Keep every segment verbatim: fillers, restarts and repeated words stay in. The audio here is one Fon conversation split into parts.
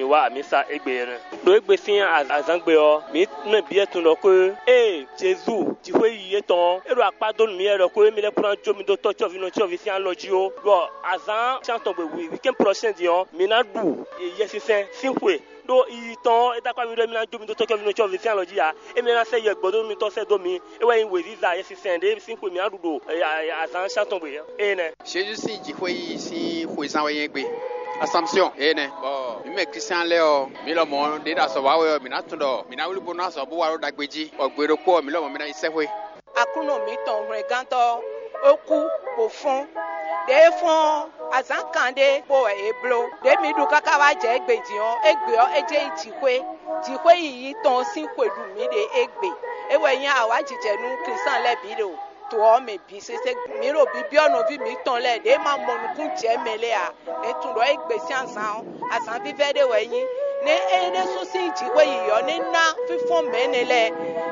Wá mi sa égbé ɛnɛ. Ɖo égbé sín azǎngbe ɔ́, mǐ mɛ bǐ tunwun ɖɔ xwé ée Jezu jǐxwé yiyi étɔn ɔ́, é ɖo akpá dó nú mǐ wɛ ɖɔ xwé émí lɛ́ɛ kún ná jó mì dó tɔ́ cyɔ́vǐ nɔ cyɔ́vǐ sín alɔ jí ó, bɔ azǎn cyán tɔn gbe wǐwíkɛ́n prɔ̌sɛ́n din ɔ́, mǐ ná ɖu Yɛsinsɛn sín xwe. Ɖó yiyi tɔn ɔ́, é dó akpá mì ɖɔ émí ná jó mì dó tɔ́ cyɔ́vǐ nɔ cyɔ́vǐ sín alɔ jí ǎ. Émí ná sɛ́ yɛ gbɔ̌ dó mitɔn sɛ́ dó mi. É wɛ nyí wěziza Yɛsinsɛn ɖé sín xwe mǐ ná ɖu ɖo azǎn cyán tɔn gbe énɛ́. Jezu sín jǐxwé yiyi sín xwezán wɛ nyí égbé. Asɔmsyɔn énɛ́, bɔ mǐ mɛ Klístián lɛ́ɛ ɔ́, mǐ lɔmɔ̌ ɖě ɖo azɔ̌ wa wɛ ɔ́, mǐ ná tunwun ɖɔ mǐ ná wlí bónú azɔ̌ bó wa ɖó ɖagbe jí, bɔ gbe ɖokpó ɔ́, mǐ lɔmɔ̌ mǐ ná yi sɛ́xwé. Aklúnɔ mǐtɔn hwlɛngán ɔ́, é kú, bó fɔ́n. Ɖěe é fɔ́n ɔ́, azǎn kanɖé kpó wɛ é bló. Ɖě mǐ ɖu káká wá jɛ égbé din ɔ́, égbé ɔ́, é jɛ nyí jǐxwé. Jǐxwé yiyi tɔn ɔ́ sín xwe ɖu mǐ ɖe égbé. É wɛ nyí awǎjijɛ nú Klístián lɛ́ɛ bǐ ɖo to ɔ́ mɛ bǐ sésé. Mǐ ɖo bibyɔ́ nɔví mǐtɔn lɛ́ɛ ɖě ma mɔ nukún jɛ mɛ lɛ́ɛ ǎ. Mǐ tunwun ɖɔ égbé sín azǎn ɔ́, azǎn vívɛ́ ɖé wɛ é nyí. Nɛ́ é ɖésú sín jǐxwé yǐyɔ́ nɛ́ ná fínfɔ́n mɛ énɛ́ lɛ́ɛ,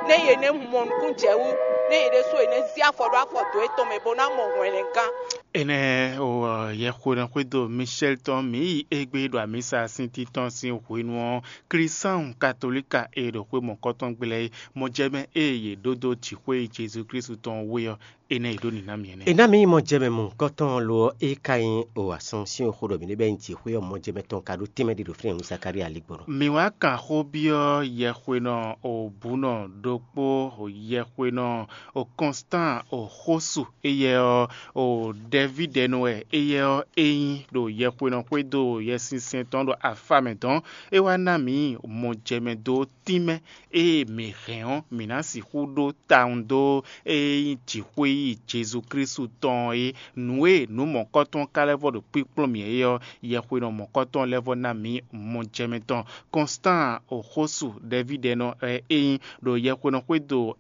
nɛ́ yě nɛ́ mɔ nukún jɛ wú, nɛ́ yě ɖésú yě nɛ́ zí afɔ ɖó afɔ dǒ yětɔn mɛ bó ná mɔ hwlɛngán. Énɛ́ o, yɛxwénɔ xwédo Michel tɔn mǐ yi égbé ɖo amǐsa sín títɔn sín hwenu ɔ́, Klísáhùn Katolíka e ɖo xwé mɔ̌kɔtɔn gblɛ́ é, mɔjɛmɛ e yě ɖó dó jǐxwé Jezu Klísu tɔn wú é ɔ́, énɛ́ e ɖó nǐ ná mì é nɛ́. È ná mǐ nyí mɔjɛmɛ mɔ̌hunkɔtɔn lo ɔ́, é ka nyí o Asɔnsíɔn xó ɖɔ mǐ ɖe bɛ́ nyí jǐxwé ɔ́, mɔjɛmɛ tɔn ka ɖó tɛ́nmɛ ɖé ɖo fínɛ́ nú Zakalía ligbɔnɔ. Mǐ wá kan xó byɔ́ yɛxwénɔ Obunɔ ɖokpó, yɛxwénɔ o Kɔnstan o Xósu, éyɛ́ ɔ́, o Dɛvídɛnu wɛ éyɛ́ ɔ́ é nyí ɖo yɛxwénɔ xwédo Yɛsinsɛn tɔn ɖo afa mɛ dɔn. É wá ná mǐ mɔjɛmɛ dó tínmɛ ée mǐ hɛn ɔ́, mǐ ná sixú ɖó tawun dó ée nyí jǐxwé yi Jezu Klísu tɔn ɔ́ é. Nǔ e nǔ mɔ̌kɔtɔn ka lɛ́ vɔ ɖo kpíkplɔ́n mǐ é ɔ́, yɛxwénɔ mɔ̌kɔtɔn lɛ́ vɔ ná mǐ mɔjɛmɛ tɔn. Kɔnstan Oxósu Dɛvídɛnɔ wɛ é nyí ɖo yɛxwénɔ xwédo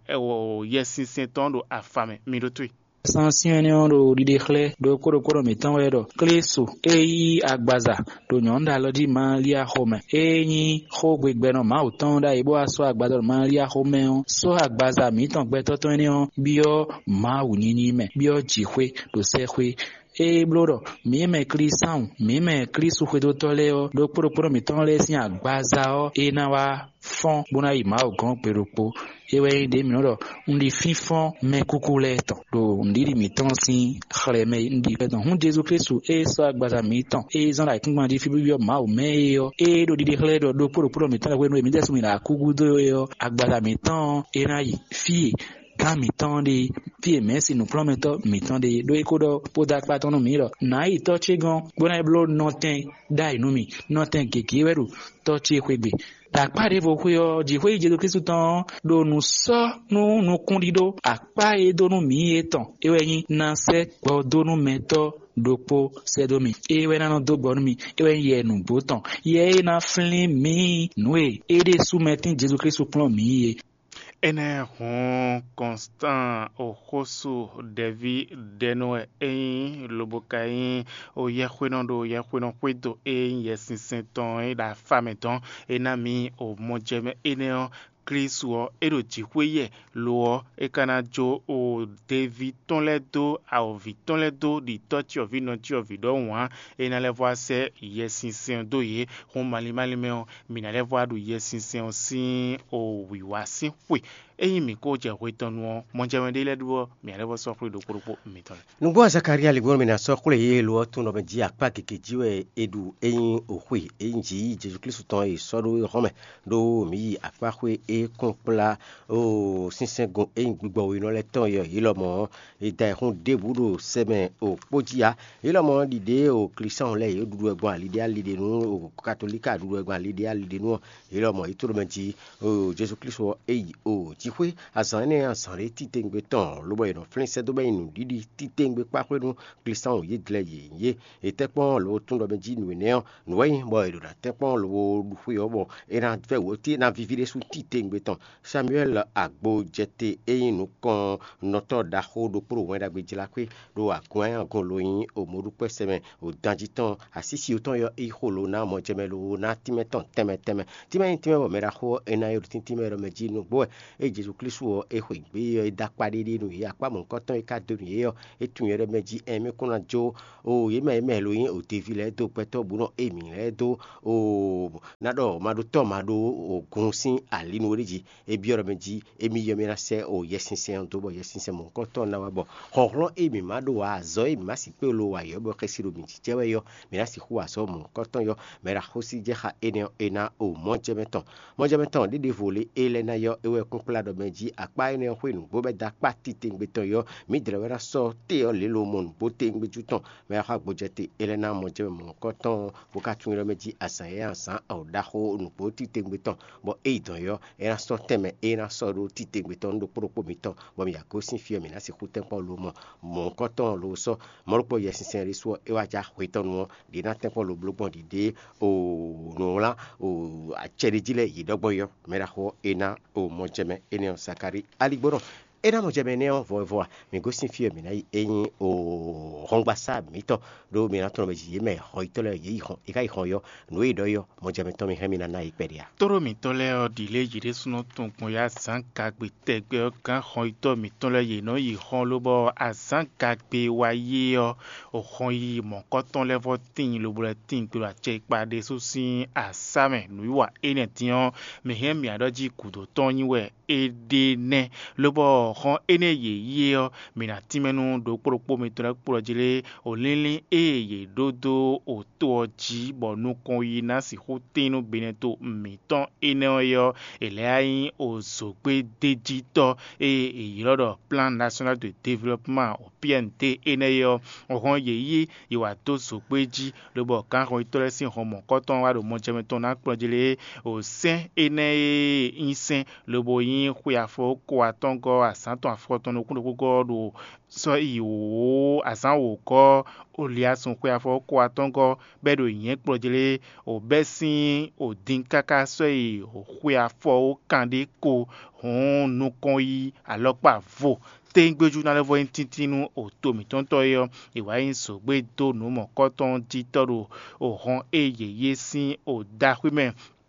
Yɛsinsɛn tɔn ɖo afa mɛ. Mi ɖótó e. Sán syɛ́n énɛ́ ɔ́ ɖo ɖiɖe xlɛ́ ɖokpó ɖokpó ɖo mǐtɔn wɛ ɖɔ Klísu e yí agbaza ɖo nyɔ̌nu ɖo alɔ jí Malia xomɛ. Ée nyí xógbegbɛnɔ Mawu tɔn ɖ'ayǐ bó wá sɔ́ agbaza ɖo Malia xomɛ ɔ́, sɔ́ agbaza mǐtɔn gbɛtɔ́ tɔn énɛ́ ɔ́ byɔ́ Mawu nyinyi mɛ, byɔ́ jǐxwé ɖo sɛ́xwé. Ée bló ɖɔ mǐ mɛ Klísáhùn, mǐ mɛ Klísu xwedótɔ́ lɛ́ɛ ɔ́, ɖokpó ɖokpó nɔ mǐtɔn lɛ́ɛ sín agbaza ɔ́, é ná wá fɔ́n bó ná yi Mawu gɔ́n gbe ɖokpó. É wɛ nyí ɖě mǐ nɔ ɖɔ un ɖi fínfɔ́n mɛkúkú lɛ́ɛ tɔn ɖo nǔɖiɖi mǐtɔn sín xlɛmɛ un ɖi xlɛ́ tɔn. Hǔn Jezu Klísu e sɔ́ agbaza mǐtɔn e zán ɖo ayǐkúngban jí fí byɔ́ Mawu mɛ é ɔ́, ée ɖo ɖiɖe xlɛ́ ɖɔ ɖokpó ɖokpó nɔ mǐtɔn lɛ́ɛ hwenu e mǐ ɖésú mǐ ɖo akúgúdo é ɔ́, agbaza mǐtɔn ɔ́, é ná yi fí e gǎn mǐtɔn ɖe, fí e mɛ̌si nǔkplɔ́nmɛtɔ́ mǐtɔn ɖe ɖó é ko ɖɔ bó dó akpá tɔn nú mǐ ɖɔ nǎ yi tɔ́ ce gɔ́n bó ná yi bló nɔtɛn ɖ'ayǐ nú mì. Nɔtɛn gěgé wɛ ɖo tɔ́ ce xwé gbe. Ɖo akpá ɖěvo xwé ɔ́, jǐxwé yi Jezu Klísu tɔn ɔ́ ɖo nǔ sɔ́ nú nukúnɖíɖó akpá e dó nú mǐ é tɔn. É wɛ nyí ná sɛ́ gbɔ dó nú mɛtɔ́ ɖokpó sɛ́ dó mì. É wɛ ná nɔ dó gbɔ nú mì. É wɛ nyí Yɛ nǔgbó tɔn. Yɛ e ná flín mǐ nǔ e é ɖésú mɛ tín Jezu Klísu kplɔ́n mǐ é. Énɛ́ hǔn Kɔnstan Oxósu ɖɛví ɖɛnu wɛ é nyí lobo ka nyí o yɛxwénɔ ɖo yɛxwénɔ xwédo e nyí Yɛsinsɛn tɔn é ɖo afa mɛ dɔn. É ná mǐ o mɔjɛmɛ énɛ́ ɔ́, Klísu ɔ́, é ɖo jǐxwé yɛ, lo ɔ́, é ka ná jó o deví tɔn lɛ́ɛ dó awɔ̌vi tɔn lɛ́ɛ dó ɖi tɔ́ cyɔvǐ nɔ cyɔvǐ ɖɔhun ǎ. É ná lɛ́ vɔ wá sɛ́ Yɛsinsɛn ɔ́ dó yě. Hǔn malín málín mɛ ɔ́, mǐ ná lɛ́ vɔ wá ɖu Yɛsinsɛn ɔ́ sín o wǐwá sín xwe. Ényí mǐ ko jɛ hwe tɔn nu ɔ́, mɔjɛmɛ ɖé lɛ́ɛ ɖu ɔ́, mǐ ná lɛ́ vɔ sɔ́ xwé ɖokpó ɖokpó mitɔn lɛ́ɛ. Nǔgbó Azakariya ligbɔ́nɔ mǐ ná sɔ́ xwlé yě lo ɔ́ tún nɔ mɛ jí akpá gěgé jí wɛ è ɖu ényí o xwe ényí jǐ yí Jezu Klísu tɔn e è sɔ́ ɖó é hɔn mɛ, ɖó mǐ yi akpá xwé e kún kplá o sínsɛ́ngun ényí gbigbɔ we nɔ lɛ́ɛ tɔn é ɔ́, yě lɔmɔ̌ ɔ́, è da ayǐxún ɖěbǔ ɖo sɛmɛ o kpó jí ǎ. Yě lɔmɔ̌ ɖiɖě o Klísáhɔn lɛ́ɛ yě ɖuɖu wɛ gbɔn ali ɖé ali ɖé nú o Katolíka ɖuɖu wɛ gbɔn ali ɖé ali ɖé nú ɔ́, yě lɔmɔ̌ yě tló mɛ jí o Jezu Klísu ɔ́ é yi o jǐxwé. Azǎn énɛ́ azǎn ɖé titewungbe tɔn, lobɔ è nɔ flín sɛ́ dó bɔ é nyí nǔɖiɖi titewungbe kpáxwé nú Klísáhɔn yědlɛ yě nyí é. È tɛ́ kpɔ́n lobo tún ɖɔ mɛ jí nǔ énɛ́ ɔ́, nǔ wɛ nyí bɔ è ɖo ná tɛ́ kpɔ́n lobo ɖu xwe ɔ́ bɔ é ná vɛ́ wǒ tí é ná víví ɖésú titewungbe tɔn. Samuɛ́li agbojɛte e nyí nukɔnnɔtɔ́ ɖaxó ɖokpó ɖo Wɛn Ɖagbe jlá xwé ɖo agun e agun lo nyí o mɔɖúkpɛ́sɛ mɛ o danjí tɔn asísi tɔn yɔ é xo lo ná mɔjɛmɛ lo ná tínmɛ tɔn tɛnmɛ tɛnmɛ. Tínmɛ nyí tínmɛ bɔ mɛ ɖaxó ɔ́ é ná yi ɖo tíntín mɛ ɖɔ mɛ jí nǔgbó wɛ é Jezu Klísu ɔ́, é xweyǐgbe ɔ́, é dó akpá ɖéɖé nú yě. Akpá mɔ̌hunkɔtɔn e ka dó nú yě ɔ́, é tunwun yɛ ɖɔ mɛ jí ɛn mɛ kún ná jó o yě mɛ e mɛ lo nyí o deví lɛ́ɛ dó gbɛtɔ́ bǔ nɔ émǐ lɛ́ɛ dó o ná ɖɔ ma ɖó tɔ́ ma ɖó o gun sín alinu ɖé jí. É byɔ́ ɖɔ mɛ jí émí yɔ mì ná sɛ́ o Yɛsinsɛn ɔ́ dó bɔ Yɛsinsɛn mɔ̌hunkɔtɔn ná wá bɔ hlɔ̌nhlɔ́n e mǐ ma ɖo ǎ, azɔ̌ e mǐ ma sixú kpé lo ǎ yɔ̌ bɔ xɛsi ɖo mǐ jijɛ wɛ yɔ́, mǐ ná sixú wa azɔ̌ mɔ̌hunkɔtɔn yɔ́. Mɛ ɖo axósí jɛ xá énɛ́ ɔ́, é ná o mɔ̌ jɛ mɛ tɔn. Mɔ̌ jɛ mɛ tɔn ɖěɖěvo lě é lɛ́ ná yɔ́ é wɛ kún kplá ɖɔ mɛ jí akpá énɛ́ ɔ́ xwé nǔgbó bɔ é dó akpá titewungbe tɔn yɔ́, mǐdɛɛ wɛ ná sɔ́ té ɔ́ lě lo mɔ nǔgbó tewungbe jú tɔn. Mɛ ɖo axwá gbojɛ te é lɛ́ ná mɔ̌ jɛ mɛ mɔ̌hunkɔtɔn bó ka tunwun ɖɔ mɛ jí azǎn e azǎn ɔ̌ ɖaxó nǔgbó titewungbe tɔn, bɔ é yi dɔ̌n yɔ́, é ná sɔ́ tɛnmɛ é ná sɔ́ ɖó titewungbe tɔn nú ɖokpó ɖokpó mǐtɔn, bɔ mǐ ya gosín fí ɔ́, mǐ ná sixú tɛ́nkpɔ́n lo mɔ mɔ̌hunkɔtɔn lo sɔ́. Mɔ̌ ɖokpó Yɛsinsɛn ɖésú ɔ́, é wá jɛ axwe tɔn nu ɔ́, ɖě ná tɛ́nkpɔ́n lo bló gbɔn ɖiɖe o nǔwlán o acɛ ɖé jí lɛ́ɛ yě ɖɔ gbɔn yɔ́. Mɛ ɖaxó ɔ́, é ná o mɔ jɛ mɛ énɛ́ ɔ́, Zakalíi aligbónɔ. É ná mɔ jɛ mɛ énɛ́ ɔ́ vɔvɔ a? Mǐ gosín fí e mǐ ná yi é nyí o hɔngbasá mǐtɔn, ɖó mǐ ná tunwun mɛ jí yě mɛ hɔnyitɔ́ lɛ́ɛ yě yi hɔn, è ka yi hɔn yɔ́, nǔ e è ɖɔ é ɔ́, mɔ jɛ mɛ tɔn mì hɛn mì ná ná yě kpɛɖé a? Tóɖó mǐtɔn lɛ́ɛ ɔ́, ɖi lě yě ɖésúnɔ tunwun gbɔn yá azǎn gagbe tɛgbɛ ɔ́ gán hɔnyitɔ́ mǐtɔn lɛ́ɛ yě nɔ yi hɔn, lobɔ azǎn gagbe e wá yi é ɔ́, hɔn yi mɔ̌kɔ́tɔn lɛ́ɛ vɔ́ tíin lobo lɛ́ tíin gbe ɖo acɛ e kpa ɖésú sín asá mɛ. Nǔwiwa énɛ́ din ɔ́, mǐ hɛn mǐ ɖɔ jí gǔdo tɔn nyí wɛ é ɖe nɛ́, lobɔ hɔn énɛ́ yě yi é ɔ́, mǐ ná tínmɛ nú ɖokpó ɖokpó mitɔn lɛ́ɛ kplɔ́ jí lé, o línlín e yě ɖó dó o to ɔ́ jí, bɔ nukɔn yi ná sixú tín nú binɛto mǐtɔn énɛ́ ɔ́ é ɔ́, è lɛ́ wá nyí o zǒgbédéjítɔ́ e è ylɔ́ ɖɔ Plan National de Développement, o P N D énɛ́ é ɔ́, hɔn yě yi yi wǎ dó zǒgbé jí, lobɔ gǎnhɔnyitɔ́ lɛ́ɛ sín hɔn mɔ̌kɔ́tɔn wá ɖo mɔjɛmɛ tɔn ná kplɔ́n jí lé, o sɛ́n énɛ́ e nyí sɛ́n lobo nyí xwe afɔ ko atɔ́ngɔ́ azǎn tɔn afɔtɔn nukún ɖokpógɔ́ ɔ́ ɖo sɔ́ yi wǒ azǎn wǒgɔ́ Oliasun xwe afɔ ko atɔ́ngɔ́ bɔ é ɖo nyɛ̌ kplɔ́n jí lé, o bɛ́ sín o din káká sɔ́ yi xwe afɔ ko kanɖé ko. Hǔn nukɔn yi alɔkpa vo téngbéjú ná lɛ́ vɔ nyí tíntín nú o to mǐtɔn tɔ́ é ɔ́, è wǎ nyí zǒgbé dó nǔ mɔ̌kɔ́tɔn jí tɔ́ ɖo o hɔn e yě yé sín o ɖaxwí mɛ.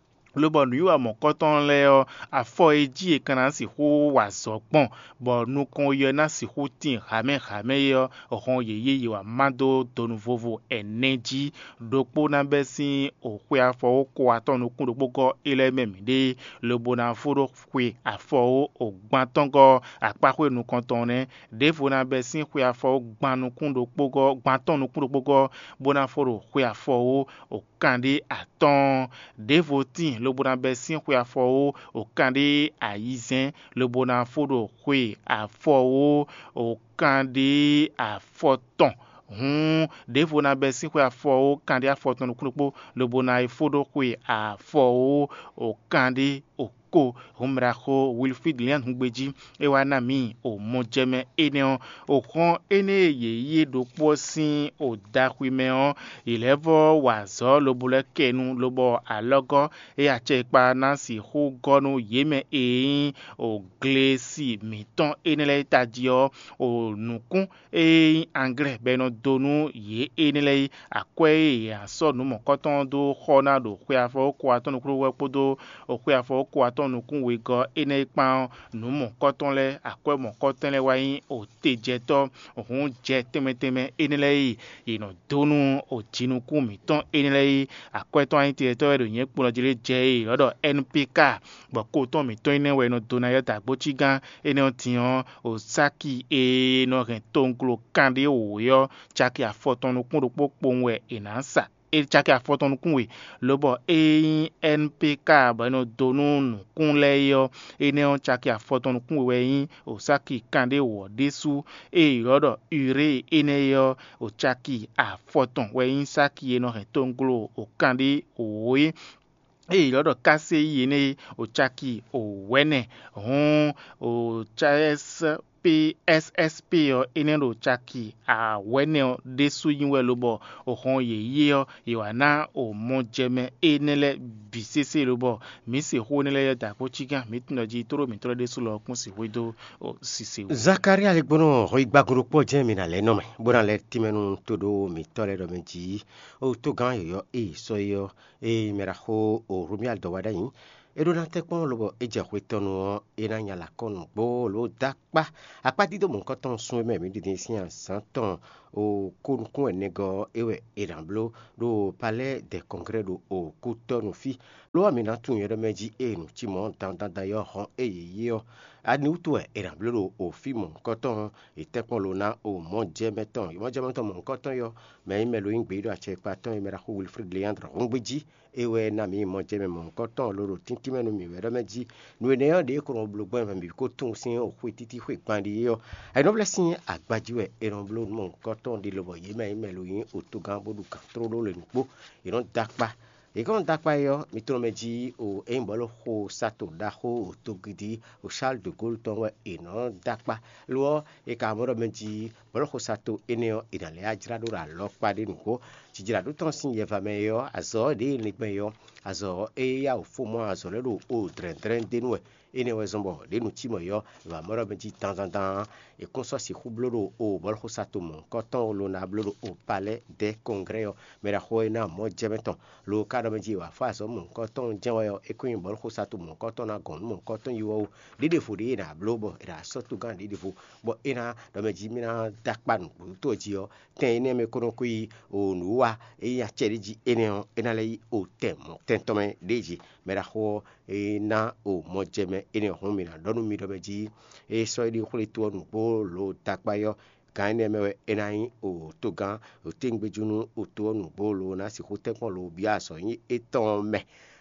Lobɔ nǔwiwa mɔ̌kɔ́tɔn lɛ́ɛ ɔ́, afɔ e jí è ka ná sixú wa azɔ̌ gbɔn, bɔ nukɔn yi ɔ́ ná sixú tíin hamɛ́ hamɛ́ é ɔ́, hɔn yě yí yi wǎ má dó donu vovo ɛnɛ jí. Ɖokpó ná bɛ́ sín o xwe afɔ ko atɔ́ nukún ɖokpógɔ́ é lɛ́ɛ mɛ mǐɖée, lobo ná fó ɖó xwe afɔ o gbantɔ́ngɔ́ akpáxwé nukɔntɔn nɛ́. Ɖěvo ná bɛ́ sín xwe afɔ gban nukún ɖokpógɔ́ gbantɔ́n nukún ɖokpógɔ́, bó ná fó ɖo xwe afɔ o kanɖé atɔ́ɔ́n. Ɖěvo tíin lobo ná bɛ́ sín xwe afɔ o kanɖé ayizɛ́n, lobo ná fó ɖo xwe afɔ o kanɖé afɔtɔn. Hǔn ɖěvo ná bɛ́ sín xwe afɔ o kanɖé afɔtɔn nukún ɖokpó, lobo ná yi fó ɖó xwe afɔ o kanɖé ko. Hǔn mɛ ɖaxó Wilfrid Lian húngbe jí, é wá ná mǐ o mɔjɛmɛ énɛ́ ɔ́, o xɔ́n énɛ́ e yě yí é ɖokpó ɔ́ sín o daxwi mɛ ɔ́, yě lɛ́ vɔ́ wa azɔ̌ lobo lɛ́ kɛ nu, lobɔ alɔgɔ́ e acɛ e kpa ná sixú gɔ́ nú yě mɛ e nyí o glesi mǐtɔn énɛ́ lɛ́ɛ tají ɔ́, o nǔkún e nyí anglɛ́ bɔ è nɔ dó nú yě énɛ́ lɛ́ɛ é. Akwɛ́ e è nǎ sɔ́ nǔ mɔ̌kɔtɔn ɔ́ dó xɔ ná ɖo xwe afɔ ko atɔ́ɔ́n nukún wɛ kpódó xwe afɔ ko atɔ́ɔ́n nukún wegɔ́ énɛ́ é kpán ɔ́, nǔ mɔ̌kɔtɔn lɛ́ɛ, akwɛ́ mɔ̌kɔtɔn lɛ́ɛ wá nyí otejɛtɔ́. Hǔn jɛ tɛnmɛ tɛnmɛ énɛ́ lɛ́ɛ e è nɔ dó nú jinukún mǐtɔn énɛ́ lɛ́ɛ é, akwɛ́ tɔn anyítejɛtɔ́ wɛ ɖo nyɛ̌ kplɔ́n jí lé jɛ e è nɔ ɖɔ N P K, bɔ ko tɔn mǐtɔn énɛ́ wɛ è nɔ dó ná yɔ́ dǎgbócígán énɛ́ ɔ́ din ɔ́, Osáki e nɔ hɛn towunglo kanɖé wǒ é ɔ́, caki afɔtɔn nukún ɖokpó kpowun wɛ è nǎ sa. É caki afɔtɔn nukún we, lobɔ ée nyí N P K bɔ è nɔ dó nú nǔkún lɛ́ɛ é ɔ́, énɛ́ ɔ́ caki afɔtɔn nukún we wɛ nyí Osáki kanɖé wǒ ɔ́ ɖésú. Ée è ylɔ́ ɖɔ Urée énɛ́ é ɔ́, o caki afɔtɔn wɛ nyí sáki e nɔ hɛn towunglo o kanɖé wǒ é. Ée è ylɔ́ ɖɔ Káséyi énɛ́ é, o caki wǒ wɛ nɛ́. Hǔn o C S P S S P ɔ́, énɛ́ ɖo caki awɛ̌nɛ ɔ́ ɖésú nyi wɛ, lobɔ o hɔn yě yi é ɔ́, è wǎ ná o mɔjɛmɛ énɛ́ lɛ́ɛ bǐ. sésé lobɔ mǐ se xó énɛ́ lɛ́ɛ da kpó cígán mǐtɔn jí tóɖó mǐtɔn lɛ́ɛ ɖésú lɔ kún sixú dó sise wú. Zakalía lɛ́ gbɔn hɔn yi gbagun ɖokpó jɛ́n mǐ ná lɛ́ nɔ mɛ, bó ná lɛ́ tínmɛ nú tóɖó mǐtɔn lɛ́ɛ ɖɔ mɛ jí. O tógán yɔ̌yɔ́ e sɔ́ é ɔ́, ée mɛ ɖaxó Hlomia dɔ wá ɖ'ayǐ, é ɖó ná tɛ́nkpɔ́n lobɔ é jɛ hwe tɔn nu ɔ́, é ná nya lǎ kɔn nǔgbó ló dó akpá. Akpá dídó mɔ̌hunkɔtɔn sun e mɛ mǐ ɖi din sín azǎn tɔn o kó nukún ɛnɛgɔ́ ɔ́, é wɛ è nǎ bló ɖo Palais des Congrès ɖo Kútɔ́nu fí. Lo ɔ́, mǐ ná tunwun nyɛ ɖɔ mɛ jí ée nǔ cí mɔ̌ dandan dandan e ɔ́ hɔn é yě yí ɔ́, ani wútu wɛ è nǎ bló ɖo o fí mɔ̌hunkɔtɔn ɔ́? È tɛ́nkpɔ́n lo ná o mɔ̌ jɛ mɛ tɔn, mɔ̌ jɛ mɛ tɔn mɔ̌hunkɔtɔn yɔ́, mɛ e nyí mɛ lo nyí gbeyíɖɔ acɛkpa tɔn e mɛ ɖaxó Wilfrid Leandre hɔn gbé jí. É wɛ ná mǐ mɔ jɛ mɛ mɔ̌hunkɔtɔn lo ɖo tíntín mɛ nú mǐ wɛ ɖɔ mɛ jí. Nǔ énɛ́ ɔ́, ɖě e kɔn nɔ bló gbɔn mɛ bǐ kó tunwun sín xwe títí xwe gban ɖi é ɔ́, ayǐnɔ́vlɛ́ sín agbají wɛ è nɔ bló nú mɔ̌hunkɔtɔn ɖi lobɔ yě mɛ e nyí mɛ lo nyí otogán bó ɖu gǎn tlóló le nǔgbó. È nɔ dó akpá. È kɔn dó akpá é ɔ́, mi tlɔ́n mɛ jí o é nyí bɔ̌luxo sato ɖaxó o togidi o Charles de Gaulle tɔn wɛ è nɔ dó akpá. Lo ɔ́, è ka mɔ ɖɔ mɛ jí bɔ̌luxo sato énɛ́ ɔ́, è nǎ lɛ́ wá jlá ɖó ɖo alɔkpa ɖé nǔgbó. Jijlǎɖó tɔn sín yɛva mɛ é ɔ́, azɔ̌ ɖě e è nɔ gbɛn é ɔ́, azɔ̌ e yá wǔ fó mɔ azɔ̌ lɛ́ɛ ɖo o dlɛ̌ndlɛ́n d'é nu wɛ. Énɛ́ wɛ zɔ́n bɔ ɖě nu cí mɔ̌ é ɔ́, è wǎ mɔ ɖɔ mɛ jí dandandan è kún sɔ́ sixú bló ɖo o bɔ̌luxo sato mɔ̌hunkɔtɔn lo ná bló ɖo o Palais des Congrès ɔ́, mɛ ɖaxó e ná mɔ̌ jɛ mɛ tɔn. Lo ka ɖɔ mɛ jí è wǎ fó azɔ̌ mɔ̌hunkɔtɔn jɛ́n wɛ ɔ́, é kún nyí bɔ̌luxo sato mɔ̌hunkɔtɔn ná gɔn nǔ mɔ̌hunkɔtɔn yí wɛ ó. Ɖěɖevo ɖě è nǎ bló bɔ è nǎ sɔ́ togán ɖěɖevo, bɔ é ná ɖɔ mɛ jí mì ná dó akpa nǔgbó tó jí ɔ́, tɛn énɛ́ mɛ ko nɔ ko yi o nǔwiwa e nyí acɛ ɖé jí énɛ́ ɔ́, é ná lɛ́ yi o tɛn mɔ̌ tɛn tɔn mɛ ɖě jí. Mɛ ɖaxó ɔ́, é ná o mɔjɛmɛ énɛ́ ɔ́ hɔn mì ná ɖɔ nú mi ɖɔ mɛ jí é sɔ́ é ɖi xwlétu ɔ́ nǔgbó lo dó akpá yɔ́. Gǎn énɛ́ mɛ wɛ é ná nyí o togán o téngbéjú nú o to ɔ́ nǔgbó lo ná sixú tɛ́nkpɔ́n lo byɔ́ azɔ̌ nyí étɔn mɛ.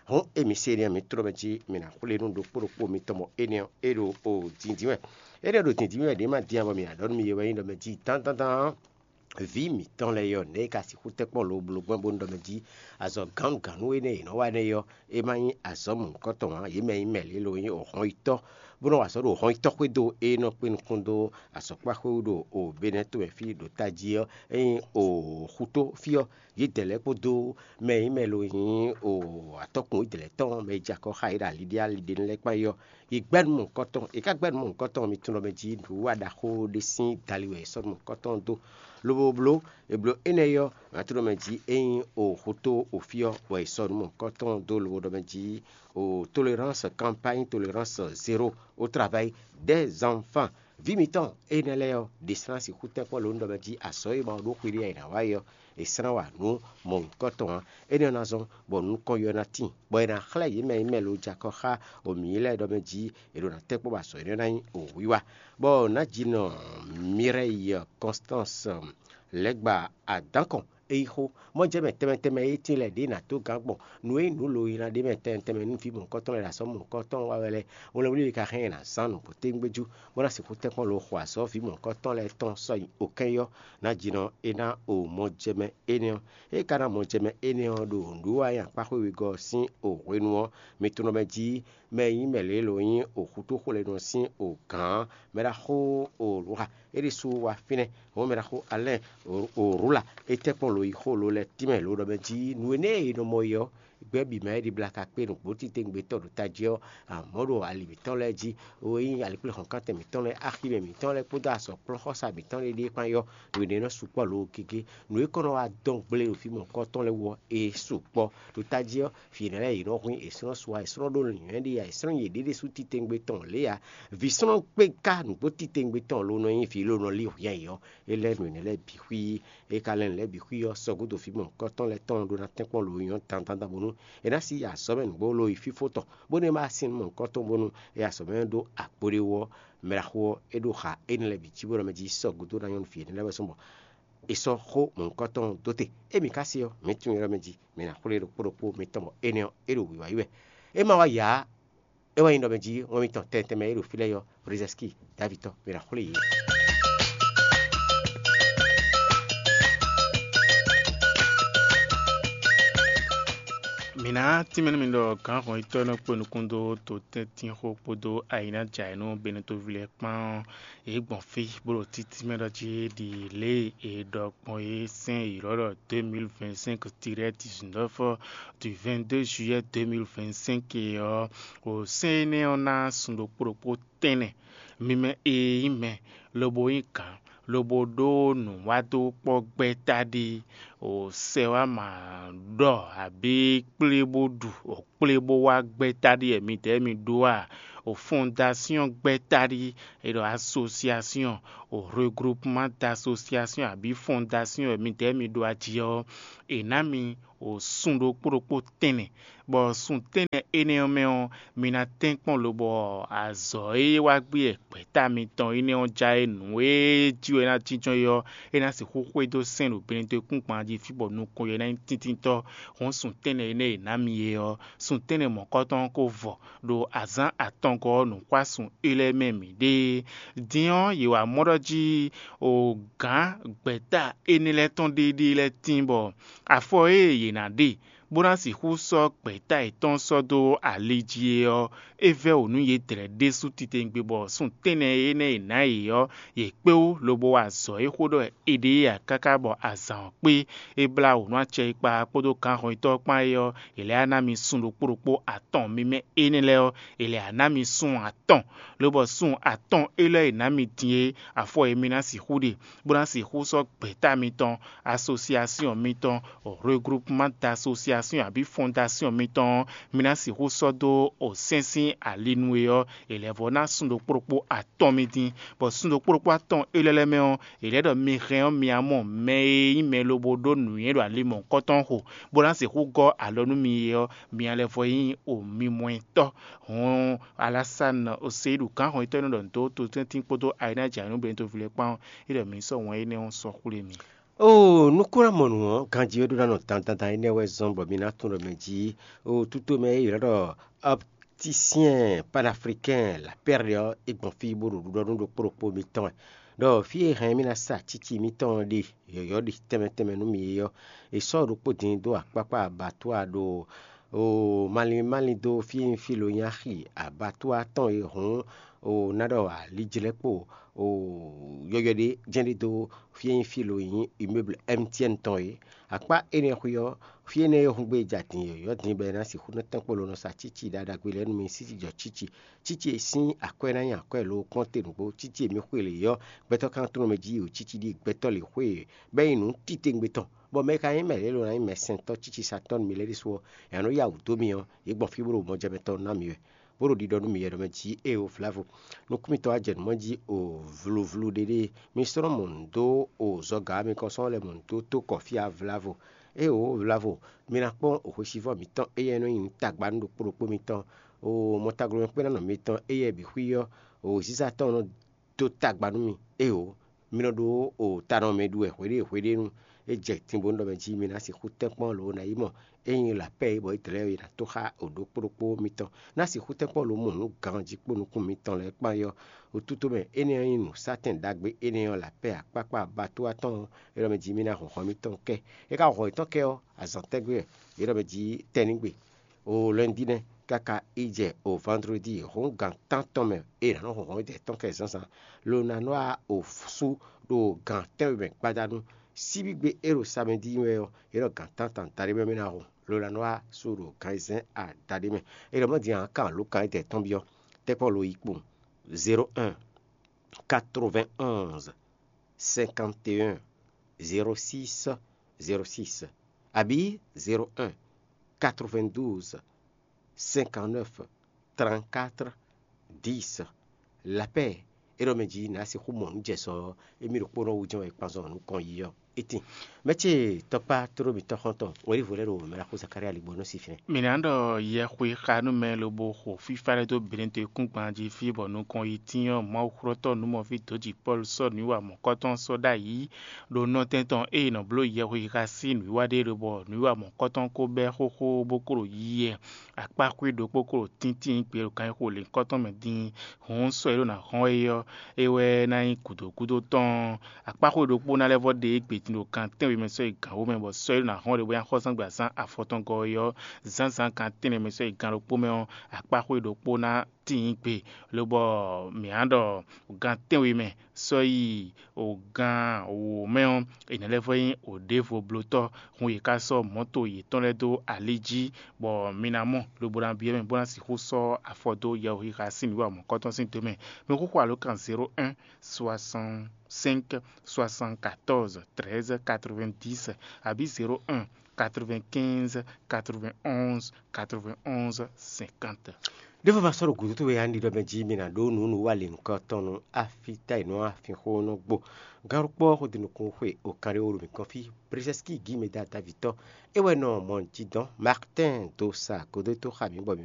Hɔn émi se énɛ́ mi tlɔ́ mɛ jí mi ná xwlé nú ɖokpó ɖokpó mitɔn bɔ énɛ́ ɔ́ é ɖo o dǐndín wɛ. Énɛ́ ɖo dǐndín wɛ ɖě ma dín ǎ bɔ mi ná ɖɔ nú mi yɛ wɛ nyí ɖɔ mɛ jí dán dán dán. Vǐ mǐtɔn lɛ́ɛ ɔ́, nɛ̌ è ka sixú tɛ́nkpɔ́n lobló gbɔn bónú ɖɔ mɛ jí azɔ̌ gǎnnugǎnnu énɛ́ e yě nɔ wa énɛ́ ɔ́, é ma nyí azɔ̌ mɔ̌hunkɔtɔn ǎ? Yě mɛ nyí mɛ lě lo nyí hɔnyitɔ́, bó nɔ́ wa azɔ̌ ɖo hɔnyitɔ́ xwédo e nɔ kpé nukún dó azɔ̌kpáxwé wú ɖo Benɛ́ tomɛ fí ɖo tají ɔ́, é nyí xutó fí ɔ́. Yědɛɛ lɛ́ɛ kpódó mɛ e nyí mɛ lo nyí atɔ́kùn yědɛɛ lɛ́ɛ tɔn, mɛ e jɛ akɔ xá yě ɖo aliɖíaliɖénu lɛ́ɛ kpán é ɔ́, yě gbɛ́ nǔ mɔ̌hunkɔtɔn. Yě ká gbɛ́ nǔ mɔ̌hunkɔtɔn ɔ́, mi tunwun ɖɔ mɛ jí nǔwiwa ɖaxó ɖé sín dali wɛ è sɔ́ nǔ mɔ̌hunkɔtɔn ɔ́ dó. Lobo bló, è blǒ énɛ́ ɔ́, nǎ tunwun ɖɔ mɛ jí é nyí o xutó o fí ɔ́, bɔ è sɔ́ nǔ mɔ̌hunkɔtɔn dó lobo ɖɔ mɛ jí o tolérance, campagne tolérance zéro au travail des enfants. Vǐ mitɔn énɛ́ lɛ́ɛ ɔ́, ɖě slán sixú tɛ́nkpɔ́n lǒ nú ɖɔ mɛ jí azɔ̌ e ma ɖó xwé ɖé ǎ è nǎ wa é ɔ́, è slán wa nǔ mɔ̌hunkɔtɔn ǎ. Énɛ́ ɔ́ ná zɔ́n bɔ nukɔn yɔ ná tíin, bɔ è nǎ xlɛ́ yě mɛ e nyí mɛ lo jɛ akɔ xá o mǐ lɛ́ɛ ɖɔ mɛ jí è ɖo ná tɛ́nkpɔ́n bɔ azɔ̌ énɛ́ ná nyí o wiwa. Bɔ nǎjinɔ Mireille Constance Lɛ̌gba Adǎnkɔn é yí xó. Mɔ̌ jɛ mɛ tɛnmɛ tɛnmɛ e tíin lɛ́ɛ ɖě ná dó gǎn gbɔn nǔ e nyí nǔ lo e ná ɖe mɛ tɛnmɛ tɛnmɛ nú vǐ mɔ̌hunkɔtɔn lɛ́ɛ ɖo azɔ̌ mɔ̌hunkɔtɔn wa wɛ lɛ́ɛ, wlɛnwlí e ka hɛn ɛ ná zán nǔgbó tégbéjú, bó ná sixú tɛ́nkpɔ́n lo xo azɔ̌ vǐ mɔ̌hunkɔtɔn lɛ́ɛ tɔn sɔ́ nyi okɛ́n yɔ́. Nǎjinɔ é ná o mɔjɛmɛ énɛ́ ɔ́. É ka ná mɔjɛmɛ énɛ́ ɔ́ ɖo nǔwiwa e nyí akpá xwé wegɔ́ ɔ́ sín o hwenu ɔ́, mi tunwun ɖɔ mɛ jí mɛ e nyí mɛ lě lo nyí o xutó xwlénu ɔ́ sín o gǎn mɛ ɖaxó o lǔxa é ɖésú wá fínɛ́. Hɔn mɛ ɖaxó Alɛ́n o Rula é tɛ́nkpɔ́n lo yi xó lo lɛ́ɛ tínmɛ lo ɖɔ mɛ jí nǔ énɛ́ e è nɔ mɔ é ɔ́, gbɛ́ bǐ mɛ é ɖibla ka kpé nǔgbó titewungbe tɔn ɖo tají ɔ́, amɔ̌ ɖo ali mǐtɔn lɛ́ɛ jí, o e nyí alikpléhɔ̌nkántɛn mǐtɔn lɛ́ɛ, aximɛ mǐtɔn lɛ́ɛ kpódó azɔ̌kplɔ́nxɔ́sá mǐtɔn lɛ́ɛ ɖíe kpán é ɔ́, nǔ énɛ́ nɔ sukpɔ́ lo gégé. Nǔ e kɔn nɔ wá dɔn gble ɖo fí mɔ̌hunkɔtɔn lɛ́ɛ wú ɔ́, é sukpɔ́. Ɖo tají ɔ́, fǐ nɛ́ lɛ́ɛ yě nɔ hwín, è slɔ́n su ǎ, è slɔ́n ɖó nǔnywɛ́ ɖi ǎ, è slɔ́n yěɖée ɖésú titewungbe tɔn lě ǎ. Vǐ slɔ́n kpé ká nǔgbó titewungbe tɔn lo nɔ nyí vǐ lo nɔ lí hwǐ ǎ é ɔ́, é lɛ́ nǔ énɛ́ lɛ́ɛ bǐ xwí. É ka lɛ́ nǔ lɛ́ɛ bǐ xwí ɔ́, sɔgúdo fí mɔ̌hunkɔtɔn lɛ́ɛ tɔn ɖó ná tɛ́nkpɔ́n lo nyɔ̌ dandan bónú è nǎ sí yi azɔ̌ mɛ nǔgbó lo yi fífó tɔn, bónú é ma sin nú mɔ̌hunkɔtɔn bónú é azɔ̌ mɛ ɖó akpo ɖé wú ɔ́, mɛ ɖaxó ɔ́, é ɖó xa énɛ́ lɛ́ɛ bǐ cí bó ɖɔ mɛ jí sɔgúdo ná nyɔ́ nú vǐ énɛ́ lɛ́ɛ wɛ sɔ́ bɔ è sɔ́ xó mɔ̌hunkɔtɔn ɔ́ dó te. Émí ka se ɔ́, mǐ tunwun é ɖɔ mɛ jí, mǐ ná xwlé ɖokpó ɖokpó mitɔn bɔ énɛ́ ɔ́, é ɖo wǐwá yi wɛ. É ma wá yǎ, é wɛ nyí ɖɔ mɛ jí wɛn mitɔn tɛntɛn mɛ e ɖo fí lɛ́ɛ ɔ́, Brzezinski, Davitɔ, mǐ ná xwlé yě. Mǐ ná tínmɛ nú mi ɖɔ gǎnhɔnyitɔ́ e nɔ kpé nukún dó totɛ́ntínxó kpódó ayǐnájǎyǐnú Benetoví lɛ́ɛ kpán ɔ́, yě gbɔn fí bó ɖo títínmɛ ɖɔ jí ɖi lě e è ɖɔ gbɔn é sɛ́n ylɔ́ ɖɔ deux mille vingt-cinq tiret dix-neuf du vingt-deux juillet deux mille vingt-cinq é ɔ́, o sɛ́n énɛ́ ɔ́ ná sun ɖokpó ɖokpó tɛ́nnɛ. Mi mɛ e nyí mɛ, lobo nyí gǎn, lobo ɖó nǔwádókpɔ́ gbɛ́ taɖi, o sɛ wá ma ɖɔ abǐ kplé bó ɖu, o kplé bó wá gbɛ́ taɖi wɛ midɛɛ mi ɖó a? O fɔndasyɔn gbɛ́ taɖi, è ɖɔ asosiasyɔn, o regroupement d'asosiasyɔn abǐ fɔndasyɔn wɛ midɛɛ mi ɖó a jí ɔ́, è nǎ mi o sun ɖokpó ɖokpó tɛ́nnɛ, bɔ sun tɛ́nnɛ énɛ́ ɔ́ mɛ ɔ́, mi ná tɛ́nkpɔ́n lobɔ azɔ̌ e wá gbé gbɛ̌ta mitɔn énɛ́ ɔ́ já é nǔ e jí wɛ é ná jínjɔ́n é ɔ́, é ná sixú xwedó sɛ́n ɖo Benedekúngban jí fí bɔ nukɔn yɛ ná nyí tíntíntɔ́. Hɔn sun tɛ́nnɛ énɛ́ e è nǎ mi é ɔ́, sun tɛ́nnɛ mɔ̌kɔtɔn ɔ́ ko vɔ ɖo azǎn atɔngɔ́ ɔ́ nǔxwásun é lɛ́ɛ mɛ mǐ ɖe. Din ɔ́, yě wá mɔ ɖɔ jí o gǎn gbɛ̌ta énɛ́ lɛ́ɛ tɔn ɖéeɖée lɛ́ɛ tíin bɔ afɔ e yě ná ɖe bó ná sixú sɔ́ gbɛ̌ta yětɔn sɔ́ dó ali jí é ɔ́, é vɛ́ wǒ nú yědɛɛ ɖésú titewungbe bɔ sun tɛ́nnɛ énɛ́ e è nǎ yě ɔ́, yě kpé wú lobo wa azɔ̌ e xó ɖɔ è ɖe é ǎ káká bɔ azǎn ɔ́ kpé. É blá wǒ nú acɛ e kpa kpódó gǎnhɔnyitɔ́ kpán é ɔ́, è lɛ́ ná mi sun ɖokpó ɖokpó atɔn mímɛ́ énɛ́ lɛ́ɛ ɔ́, è lɛ́ ná mi sun atɔn, lobɔ sun atɔn élɔ́ e è nǎ mi din é, afɔ e mi ná sixú ɖe, bó ná sixú sɔ́ gbɛ̌ta mitɔn, asosiasyɔn mitɔn, regroupement d'asosiasyɔn abǐ fɔndasyɔn mitɔn ɔ́, mi ná sixú sɔ́ dó o sɛ́n sín ali nú é ɔ́, è lɛ́ vɔ́ ná sun ɖokpó ɖokpó atɔn mi din, bɔ sun ɖokpó ɖokpó atɔn élɔ́ lɛ́ɛ mɛ ɔ́, è lɛ́ ɖɔ mi hɛn ɔ́, mi ná mɔ mɛ e nyí mɛ lobo ɖó nǔnywɛ́ ɖo ali mɔ̌hunkɔtɔn xo, bó ná sixú gɔ́ alɔ nú mi é ɔ́, mi ná lɛ́ vɔ nyí o mimɔɛtɔ́. Hɔn Alasani Oseyíɖu gǎnhɔnyitɔ́ e nɔ ɖɔ nǔ dó totɛ́ntin kpódó Ayinaja nú Benito ví lɛ́ɛ kpán ɔ́, é ɖɔ mǐ sɔ́ wɛn énɛ́ ɔ́ sɔ́ xwlé mi. Oo, nukúnɖamɔnu ɔ́, ganjí wɛ ɖó ná nɔ dandandan énɛ́ wɛ zɔ́n bɔ mi ná tunwun ɖɔ mɛ jí. Oo, tutomɛ e ylɔ́ ɖɔ opticien panafricain lapɛ́rli ɔ́, é gbɔn fí bó ɖo ɖiɖɔ nú ɖokpó ɖokpó mitɔn wɛ. Ɖɔ fí e hɛn mì ná sa cíci mitɔn ɔ́ ɖe yɔ̌yɔ́ ɖi tɛnmɛ tɛnmɛ nú mi é ɔ́, è sɔ́ ɖokpó din dó akpákpá abattoir ɖo oo malín malín dó fí e nyí fí lo nyí axi abattoir tɔn e hǔn oo ná ɖɔ alijlɛ́kpo oo yɔyɔ́ ɖé jɛ́n ɖé dó fí e nyí fí lo nyí immeuble M T N tɔn é. Akpá énɛ́ xwé ɔ́, fí énɛ́ e húngbé ja din yɔ̌yɔ́ din bɔ è ná sixú nɔ tɛ́nkpɔ́n lo nɔ sa cíci ɖaɖagbe lɛ́ɛ nú mi sísí jɔ cíci. Cíci e sín akwɛ́ ná nyí akwɛ́ lo kpɔ́n te nǔgbó, cíci e mi xwe lě ɔ́, gbɛtɔ́ ka nɔ tlɔ́n mɛ jí yi o cíci ɖíe gbɛtɔ́ lě xwe e bɛ́ nyi nǔ titewungbe tɔn, bɔ mɛ e ka nyí mɛ lě e lo ná nyí mɛsɛntɔ́ cícisatɔ́ nú mi lɛ́ɛ ɖésú ɔ́, è nǎ nɔ yá wǔ dó mi ɔ́, yě gbɔn fí bó ɖo mɔjɛmɛ tɔn ná mi wɛ, bó ɖo ɖiɖɔ nú mi wɛ ɖɔ mɛ jí éeǒ vlɛ́vo. Nukúnmítɔ́ wá jɛ nǔ mɔ jí o vluvlu ɖéɖée. Mi slɔ́n mɔ nǔ dó o zɔga ɔ́, mi kɔn sɔ́ lɛ́ mɔ nǔ dó tó kɔ fí ǎ vlɛ́vo. Éeǒ vlɛ́vo, mi ná kpɔ́n o hwesivɔ́ mǐtɔn éyɛ́ nɔ nyi nǔ tagba nú ɖokpó ɖokpó mitɔn, o mɔtaglomɛkpɛ́nnɔ mǐtɔn éyɛ́ bǐ xwí ɔ́, o zíza tɔn nɔ dó tagba nú mi. Éeǒ, mi nɔ ɖó o ta nɔ mɛ ɖu wɛ hweɖée hweɖée nú é jɛ tinbɔnu ɖɔ mɛ jí mi ná sixú tɛ́nkpɔ́n lǒ ná yi mɔ é nyí lapɛ́ e bɔ é dlɛ̌ e ná tó xá o ɖokpó ɖokpó mitɔn ná sixú tɛ́nkpɔ́n lǒ mɔ nǔ ganjí kpó nukún mitɔn lɛ́ɛ kpán é ɔ́, wútútú mɛ énɛ́ ɔ́ nyí nǔsátɛn ɖagbe énɛ́ ɔ́ lapɛ́ akpákpá abattoir tɔn ɔ́, é ɖɔ mɛ jí mi ná hɔn hɔn mitɔn kɛ. É ka hɔn yětɔn kɛ ɔ́, azǎn tɛ́gbé wɛ é ɖɔ mɛ jí tɛ́nnígbe. O lɛndínɛ káká yi jɛ o vandredi hɔn gan tántɔn mɛ e nǎ nɔ hɔn hɔn dɛ tɔn kɛ zǎnzǎn, lo ná nɔ wá o sú ɖo gan tɛ́nwe mɛ gbadanu. Síbígbe e ɖo samɛdi wɛ ɔ́, é ɖɔ gan tántɔn daɖé mɛ mɛ ná hɔn, lo ná nɔ wá sú ɖo gan ayizɛ́n adaɖé mɛ. É ɖɔ mɔ din ǎ kan lǒ kan e dɛ tɔn byɔ́ tɛ́kpɔ́ lo yi kpowun: zéro un, quatre-vingt-onze, cinquante et un, zéro six, zéro six, abǐ zéro un, quatre-vingt-douze, cinquante-neuf, trente-quatre, dix. Lapɛ́ é ɖɔ mɛ jí nǎ sixú mɔ nǔ jɛ sɔ ɔ́, émí ɖokpónɔ wú jɛ́n wɛ kpanzɔn nukɔn yi ɔ́. Itin, mɛ ce tɔkpá tló mitɔn xɔ́ntɔn wɛ̌ɖívɔ lɛ́ɛ ɖo mɛ ɖaxó Zakária ligbɔnú sí fínɛ́. Mǐ ná ɖɔ yɛxwe xa nú mɛ lobo xo fífá lɛ́ɛ dó Benedekúngban jí fí bɔ nukɔn yi tín ɔ́, Mawuxlɔ́tɔ́ nǔmɔví dǒji Pɔ́lu sɔ́ nǔwiwa mɔ̌kɔtɔn sɔ́ ɖ'ayǐ ɖo nɔtɛn tɔn e è nɔ bló yɛxwe xa sín nǔwiwa ɖe lobɔ nǔwiwa mɔ̌kɔtɔn ko bɛ́ xóxó bó kó ɖo yiyi wɛ. Akpáxwé ɖokpó kó ɖo tíntín gbě ɖo ganxixo lěhunkɔtɔn mɛ din. Hǔn sɔ́ e ɖó ná hɔn é ɔ́, é wɛ ná nyí gǔdo gúdo tɔn. Akpáxwé ɖokpó ná lɛ́ vɔ ɖe égbé ɖo gan tɛ́nwe mɛ sɔ́ yi gan wǒ mɛ, bɔ sɔ́ e ɖo ná hɔn ɖe bó nya xɔ zán gbe azán afɔtɔn gɔ́ ɔ́, zǎnzǎn gan tɛ́nnɛ mɛ sɔ́ yi gan ɖokpó mɛ ɔ́, akpáxwé ɖokpó ná tíin gbe, lobɔ mǐ á ɖɔ gan tɛ́nwe mɛ sɔ́ yi o gan wǒ mɛ ɔ́, è nǎ lɛ́ vɔ nyí o ɖěvo blótɔ́, hun yě ká sɔ́ mɔ̌to yětɔn lɛ́ɛ dó ali jí, bɔ mi ná mɔ lobo ná byɔ́ mɛ bó ná sixú sɔ́ afɔ dó yɛhwexixa sín nǔwiwa mɔ̌kɔtɔn sín do mɛ. Mɛxóxó alǒkan zéro un soixante cinq soixante quatorze treize quatre vingt dix, abǐ zéro un quatre vingt quinze quatre vingt onze quatre vingt onze cinquante. Ɖěvo ma sɔ́ ɖo gǔdo towe ǎ, ɖiɖɔ mɛ jí mi ná ɖó nǔ nú wa lě nukɔntɔn nú afíta e nɔ afínxó nɔ gbo. Gǎnɖokpɔ́ xó din nukún xwe o kanɖé wó ɖo mǐ kɔn fí. Brezɛ́skí gǐ mɛ dá davítɔ́ é wɛ nɔ mɔ jí dɔn. Martin do sa godó tó xa mǐ bɔ mǐ